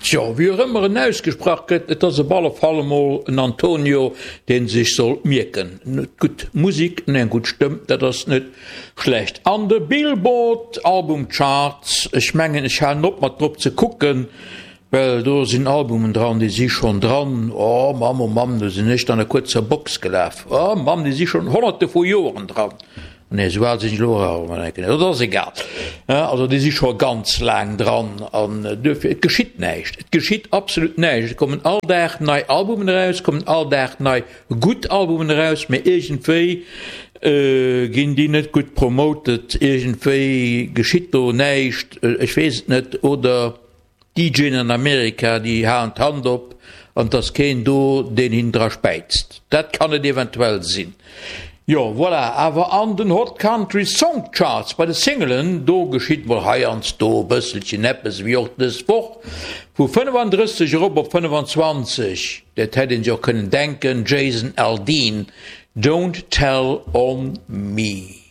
Tjo, wéi och ëmmer en ausgesprach gëtt, et ass op alle Fall emol en Antonio, dee sech soll mierken. Gutt Musik an eng gutt Stëmm, dat ass net schlecht. An de Billboard Album Charts, ech mengen ech halen op mat drop ze kucken, well do sinn Albumen dran, déi si schonn dran, oh Mamm, oh Mamm, do sinn ech dann a kuerzer Box gelaf, oh Mamm, déi si schonn honnerte vu Joeren dran. Nee, esou al sinn ech elo och awer net. Dat ass egal. Also déi si scho ganz laang dran an duerfir, et geschitt näischt. Et geschitt absolut näischt. Et kommen all Dag nei Albumen eraus, et kommen all Dag nei gutt Albumen eraus, mä iergendwéi ginn déi net gutt promoted, iergendwéi geschitt do näischt, ech weess et net, oder. DJen an Amerika, déi halen d'Hand op an 't ass keen do, deen hinnen dra späizt. Dat kann et eventuell sinn. Jo, voilà, awer an den Hot Country Song Charts bei de Singelen, do geschitt mol heiansdo e bësselchen eppes, ewéi och dës Woch, vu 35 erop op 25, dat hätt een sech och kënnen denken, Jason Aldean, Don't Tell On Me.